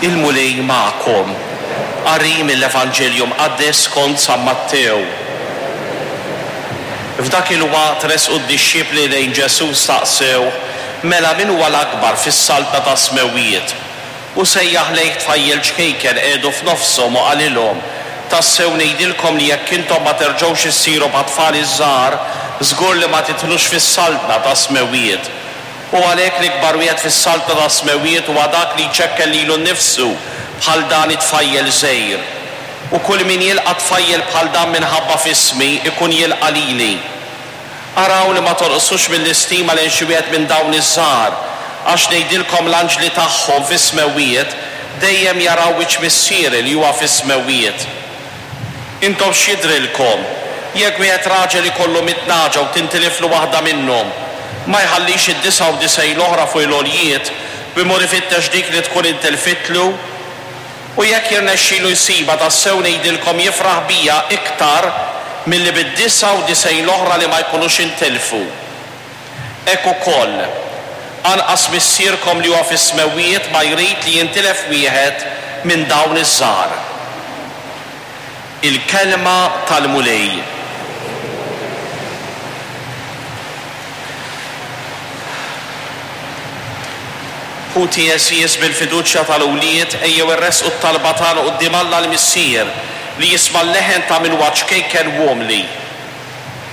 Il-Mulej magħkom. Qari mill-Evanġelju Mqaddes skont San Mattew. F'dak il-waqt resqu d-dixxipli lejn Ġesù u staqsewh, Mela min huwa l-akbar fis-saltna tas-smewwiet? Hu sejjaħ lejh tfajjel ċkejken qiegħdu f'nofshom u qalilhom, Tassew ngħidilkom li jekk intom ma terġgħux issiru bħat-tfal iż-żgħar, żgur li ma tidħlux fis-saltna tas-smewwiet. U għalhekk l-ikbar wieħed fis-saltna tas-smewwiet huwa dak li jċekken lilu nnifsu bħal dan it-tfajjel żgħir. U kull min jilqa' tfajjel bħal dan minħabba f'ismi, ikun jilqa' lili. Araw li ma tonqsux mill-istima lejn xi wieħed minn dawn iż-żgħar, għax ngħidilkom l-anġli tagħhom fis-smewwiet dejjem jaraw wiċċ Missieri li huwa fis-smewwiet. Intom x'jidhrilkom? Jekk wieħed raġel ikollu mitt nagħġa u tintiliflu waħda minnhom, ma jħallix id-99 l-oħra fuq il-għoljiet u jmur ifittex dik li tkun intilfitlu? U jekk jirnexxilu jsibha, tassew ngħidilkom jifraħ biha iktar milli bid-99 l-oħra li ma jkunux intilfu. Hekk ukoll, anqas Missierkom li huwa fis-smewwiet ma jrid li jintilef wieħed minn dawn iż-żgħar. Il-Kelma tal-Mulej. Ħuti għeżież, bil-fiduċja tal-wlied, ejjew irressqu t-talba tagħna quddiem Alla l-Missier, li jisma' l-leħen ta' min huwa ċkejken u umli.